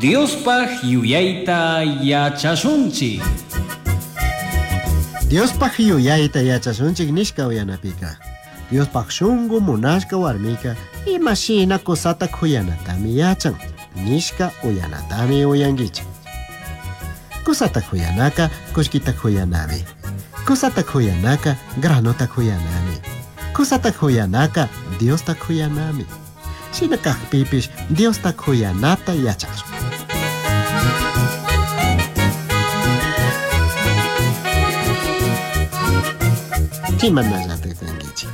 Diospaj yuyaita yachashunchik. Diospaj yuyayta yachashunchik nishka uyanapika. Diospaj shungu munashka warmika imashina kusata kuyanatami yachan nishka uyanatami uyankichik. Kusata kuyanaka kullkita kuyanami. Kusata kuyanaka granota kuyanami. Kusata kuyanaka Diosta kuyanami. Shina kakpipish Diosta kuyanata yachashun. Imanallata kankichik.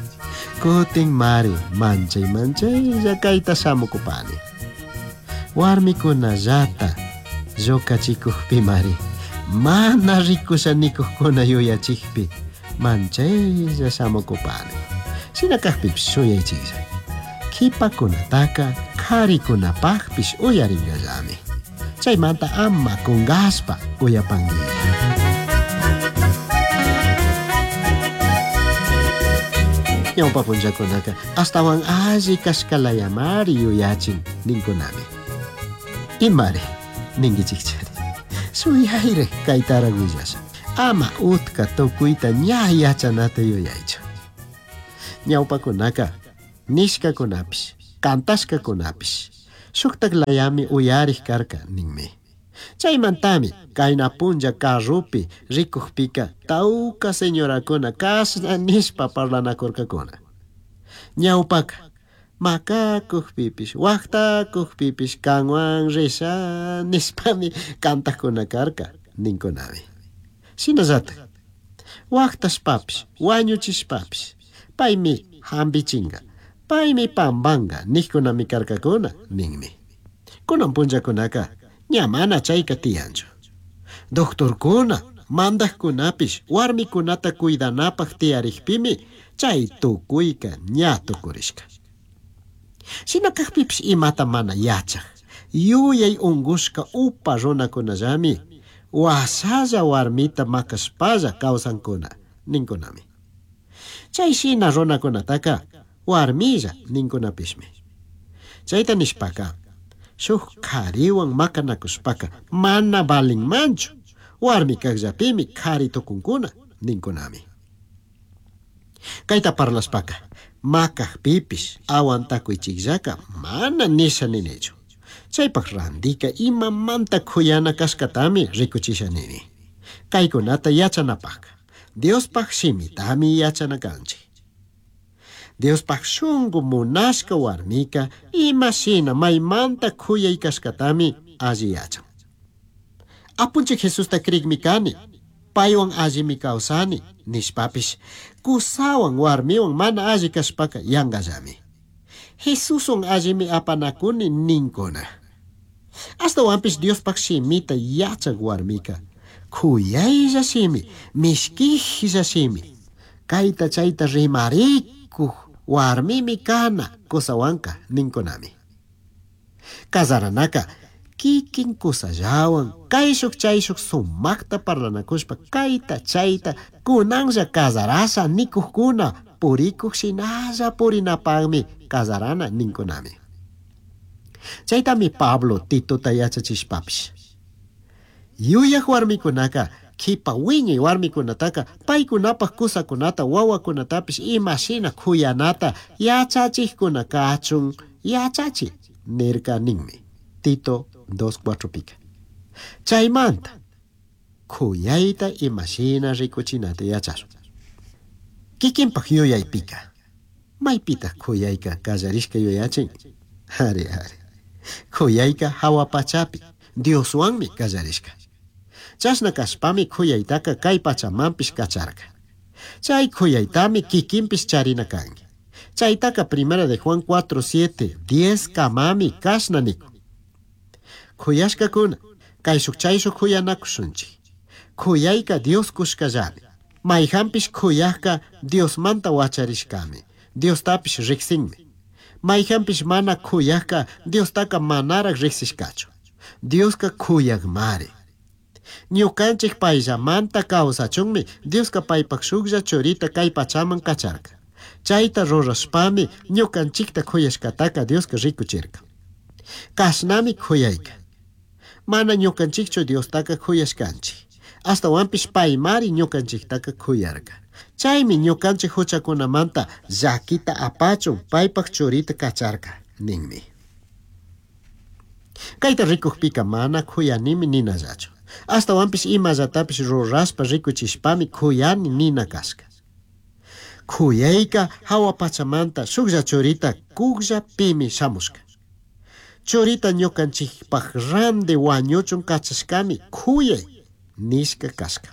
Kutin mari manchay manchaylla kayta shamukupani. Warmikunallata lluqachikukpimari mana rikusha nikuqkuna yuyachikpi manchaylla shamukupani. Shina kakpipish shuyaychiklla. Qhipakunataka qharikunapaqpish uyarinqallami. Chaymanta ama kunqaspa uyapankilla. Ñawpa punllakunaka ashtawan alli kashkalayamari yuyachin ninkunami. Imari ninkichikchari. Shuyayri kaytaraq willasha. Ama utka tukuyta ña yachanata yuyaychu. Ñawpakunaka nishkakunapish kantashkakunapish shuktak layami uyarik karka ninmi. Chaymantami kayna punlla carrupi rikukpika tawka señorakuna kashna nishpa parlanakurkakuna. Ñawpaka makakukpipish waqtakukpipish kanwan risha nishpami kantakuna karka ninkunami. Shinallatak waqtashpapish wañuchishpapish paymi hampichinka paymi pampanka nikkunami karkakuna ninmi. Kunan punllakunaka ña mana chayka tiyanchu. Doctorkuna mandaqkunapish warmikunata cuidanapaq tiyarikpimi chay tukuyka ña tukurishka. Shina kakpipish imata mana yachaq yuyay unqushka upa runakunallami washalla warmita makashpalla kawsankuna ninkunami. Chay shina runakunataka warmilla ninkunapishmi. Chayta nishpaka shuk qhariwan makanakushpaka mana valinmanchu warmi kaqllapimi qhari tukunkuna ninkunami. Kayta parlashpaka makaqpipish awantakuychikllaka mana nisha ninichu. Chaypaq randika imamanta khuyana kashkatami rikuchisha nini. Kaykunata yachanapaqka Diospaq shimitami yachana kanchik. Diospaq shungu munashka warmika imashina maymanta khuyay kashkatami alli yachan. Apunchik Jesusta krikmi kani, paywan allimi kawsani nishpapish kusawan warmiwan mana alli kashpaka yanqallami. Jesuswan allimi apanakuni ninkuna. Ashtawanpish Diospaq shimita yachaq warmika khuyaylla shimi, mishkijlla shimi, kayta chayta rimarikuq warmimi kana kusawanka ninkunami. Kasaranaka kikin kusallawan kayshuk chayshuk sumaqta parlanakushpa kayta chayta kunanlla kasarasha nikuqkuna purikuq shinalla purinapaqmi kasarana ninkunami. Chaytami Pablo Titota yachachishpapish. Yuyaq warmikunaka qhipa wiñay warmikunataka paykunapaq kusakunata wawakunatapish imashina khuyanata yachachiqkuna kachun yachachi nirka ninmi. Tito 2.4 pika. Chaymanta khuyayta imashina rikuchinata yachashun. Kikinpaq yuyaypika maypitaq khuyayka qallarishka yuyachin? Ari ari. Khuyayka hawa pachapi Dioswanmi qallarishka. Chashna kashpami khuyaytaka kay pachamanpish kacharka. Chay khuyaytami kikinpish charina kanki. Chaytaka primera de Juan 4, 7, 10 kamami kashna nikun. Khuyashkakuna kayshuk chayshuk khuyanakushunchik. Khuyayka Dios kushkallami. Mayhanpish khuyaqka Diosmanta wacharishkami. Diostapish riqsinmi. Mayhanpish mana khuyaqka Diostaka manaraq riqsishkachu. Dioska khuyaqmari. Ñukanchik payllamanta kawsachunmi Dioska paypaq shuklla churita kay pachaman kacharka. Chayta rurashpami ñukanchikta khuyashkataka Dioska rikuchirka. Kashnami khuyayka. Mana ñukanchikchu Diostaqa khuyashkanchik. Ashtawanpish paymari ñukanchiktaqa khuyarka. Chaymi ñukanchik huchakunamanta llakita apachun paypaq churita kacharka ninmi. Kayta rikukpika mana khuyanimi ninallachu. Ashtawanpish imallatapish rurashpa rikuchishpami khuyani nina kashka. Khuyayka hawa pachamanta shuklla churita kukllapimi shamushka. Churita ñukanchikpaq ranti wañuchun kachashkami khuyay nishka kashka.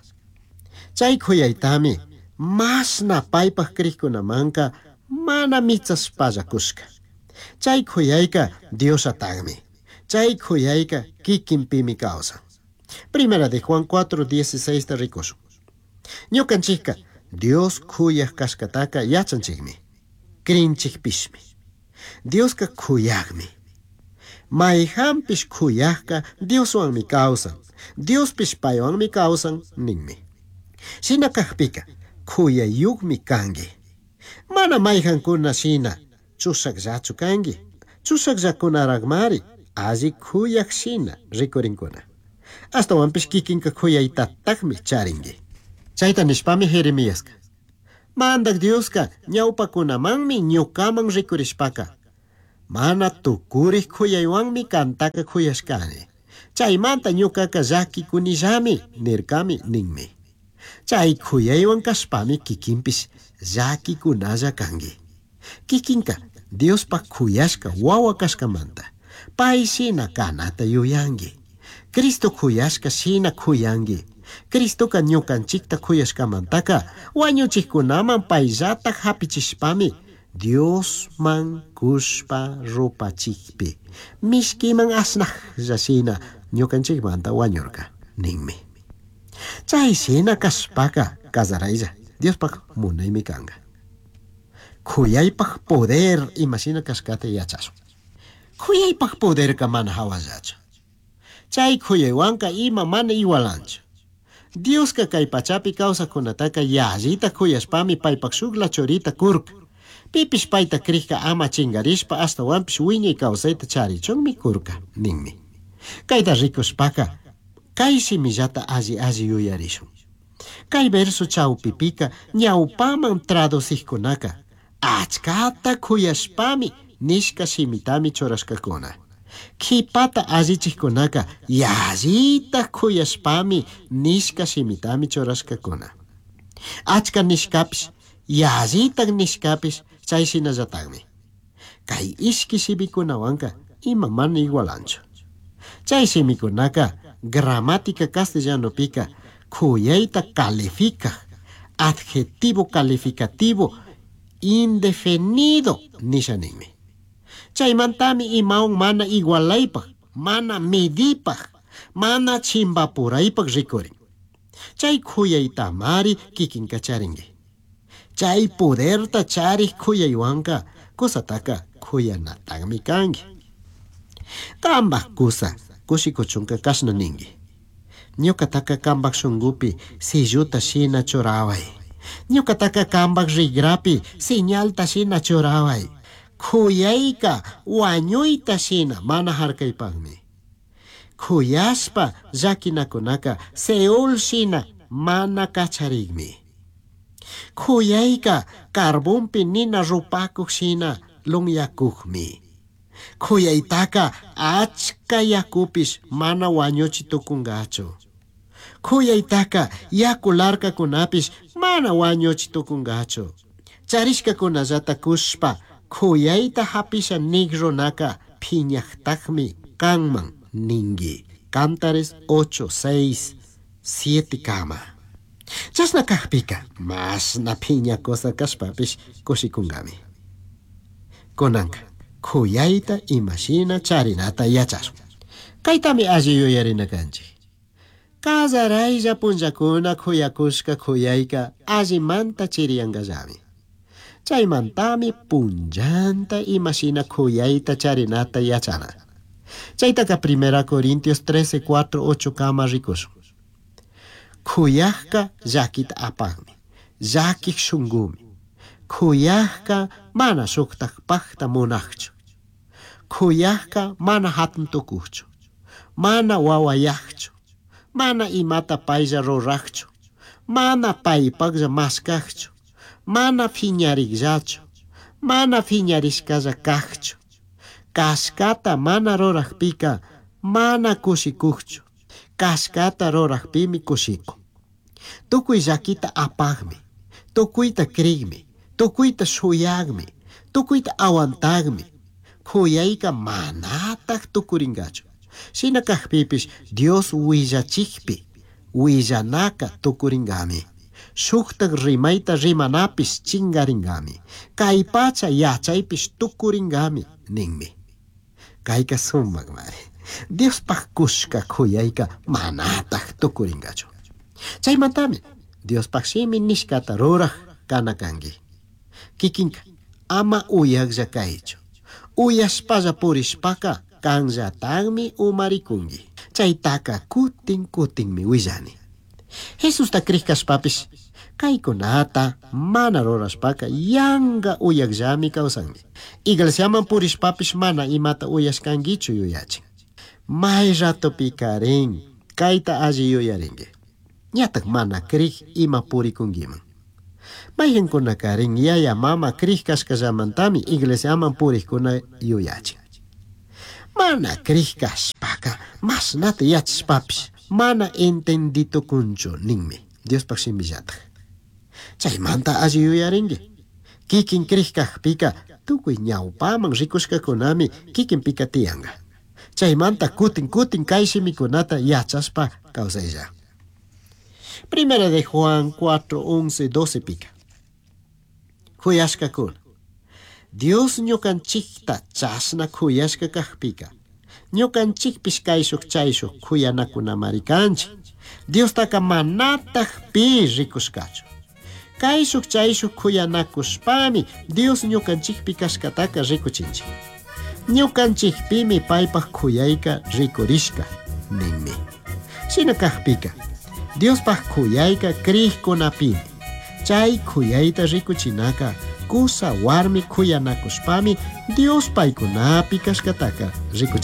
Chay khuyaytami mashna paypaq krikkunamanka mana michashpalla kushka. Chay khuyayka Diosataqmi. Chay khuyayka kikinpimi kawsan. Primera de Juan 4:16 ta rikushun. Ñukanchikka Dios khuyaq kashkataka yachanchikmi. Krinchikpishmi. Dioska khuyaqmi. Mayhanpish khuyaqka Dioswanmi kawsan. Diospish paywanmi kawsan ninmi. Shina kaqpika khuyayuqmi kanki. Mana mayhankuna shina chushaqllachu kanki. Chushaqllakunaraqmari alli khuyaq shina rikurinkuna. Ashtawanpish kikinka khuyaytataqmi charinki. Chayta nishpami Jeremiaska. Mandak Dioska ñawpakunamanmi ñukaman rikurishpaka. Mana tukurik khuyaywanmi kantaka khuyashkani. Chaymanta ñukaka llakikunillami nirkami ninmi. Chay khuyaywan kashpami kikinpish llakikunalla kanki. Kikinka Diospaq khuyashka wawa kashkamanta. Pay shina kanata yuyanki. Cristo khuyashka shina khuyanki. Cristoka ñukanchikta khuyashkamantaka wañuchikkunaman payllata hapichishpami Diosman kushpa rupachikpi mishkiman asnaqlla shina ñukanchikmanta wañurka ninmi. Chay shina kashpaka kasaraylla Diospaq munaymi kanka. Khuyaypaq poder imashina kashkata yachashun. Khuyaypaq poderka mana hawallachu. Chay khuyaywanka ima mana igualanchu. Dioska kay pachapi kawsaqkunataka yallita khuyashpami paypaq shukla churita kurka. Pipish payta krikka ama chinkarishpa ashtawanpish wiñay kawsayta charichunmi kurka ninmi. Kayta rikushpaka kay shimillata alli alli yuyarishun. Kay verso chawpipika ñawpaman traducikkunaka achkata khuyashpami nishka shimitami churashkakuna. Qhipata allichikkunaka yallita khuyashpami nishka shimitami churashkakuna. Achka nishkapish yallita nishkapish chay shinallataqmi. Kay ishki shimikunawanka ima mana igualanchu. Chay shimikunaka gramática castellanopika khuyayta calificaq adjetivo calificativo indefinido nisha ninmi. Chaymantami imawan mana igualaypaq, mana midipaq, mana chimpapuraypaq rikurin. Chay khuyaytamari kikinka charinki. Chay poderta charik khuyaywanka kusataka khuyanataqmi kanki. Kambaq kusa kushikuchunka kashna ninki. Ñukataka kambaq shunqupi silluta shina churaway. Ñukataka kambaq rikrapi señalta shina churaway. Khuyayka wañuyta shina mana harkaypaqmi. Khuyashpa llakinakunaka Seol shina mana kacharikmi. Khuyayka carbonpi nina rupakuq shina lunyakuqmi. Khuyaytaka achka yakupish mana wañuchi tukunqachu. Khuyaytaka yaku larkakunapish mana wañuchi tukunqachu. Charishkakunallata kushpa khuyayta hapisha nik runaka phiñaqtaqmi kanman ninki. Cantares 8, 6, 7 kama. Chashna kaqpika mashna phiñakusa kashpapish kushikunkami. Kunanka khuyayta imashina charinata yachashun. Kaytami alli yuyarina kanchik. Kasaraylla punllakuna khuyakushka khuyayka allimanta chiriyankallami. Chaymantami punllanta imashina khuyayta charinata yachana. Chaytaka 1 Corintios 13, 4, 8 kama rikushun. Khuyaqka llakita apaqmi, llakiq shunqumi. Khuyaqka mana shuqtaqpaqta munaqchu. Khuyaqka mana hatun tukuqchu. Mana huahuayajchu. Mana imata pailla rurajchu. Mana paipajlla mashcajchu. Mana fiñarijllachu. Mana fiñarishcalla cajchu. Cashcata mana rurajpica mana cushicujchu. Cashcata rurajpimi cushicun. Tucui llaquita apajmi. Tucuita crigmi. Tucuita shuyajmi. Tucuita aguantajmi. Cuyaica manataj tucuringachu. Shina cajpipish Dios huillachijpi huillanaca tucuringami. Shujtaj rimaita rimanapish chingaringami. Cai pacha yachaipish tucuringami ninmi. Caica sumajmari. Diospaj cushca cuyaica manataj tucuringachu. Chaimantami Diospaj shimi nishcata ruraj cana cangui. Kikinka ama uyajlla caichu. Uyashpalla purishpaca canllatajmi umaricungui. Chaitaca kutin kutinmi huillani. Jesusta crij cashpapish caicunata mana rurashpaca yanga uyajllami causangui. Iglesiaman purishpapish mana imata uyashcanguichu yuyachin. May ratopicarin caita alli yuyaringui. Ñataj mana crij ima puricunguiman. Mayqinkunakarin yaya mama crij cashkallamantami iglesiaman purijkuna yuyachin. Mana crij cashpaca mashnata yachashpapish mana entenditukunchu ninmi Diospaj shimillataj. Chaymanta alli yuyaringui. Kikin crij kajpika tukuy ñawpaman rikushkakunami kikinpika tiyanga. Chaymanta kutin kutin kay shimikunata yachashpa kawsaylla. Primera de Juan 4, 11, 12 pica. Kuyashkakuna. Dios ñukanchikta chashna kuyashka kajpika. Ñukanchikpish kayshuk chayshuk kuyanakunamari kanchik. Diostaka manataj pi rikushkachu. Kayshuk chayshuk kuyanakushpami Dios ñukanchikpi kashkataka rikuchinchik. Ñukanchikpimi paypaj kuyayka rikurishka ninmi. Shina kajpika Diospaj kuyayka crijkunapimi. Chay kuyayta rikuchinaka kusa warmi kuyanakushpami Dios paykunapi kashkataka rikuchin.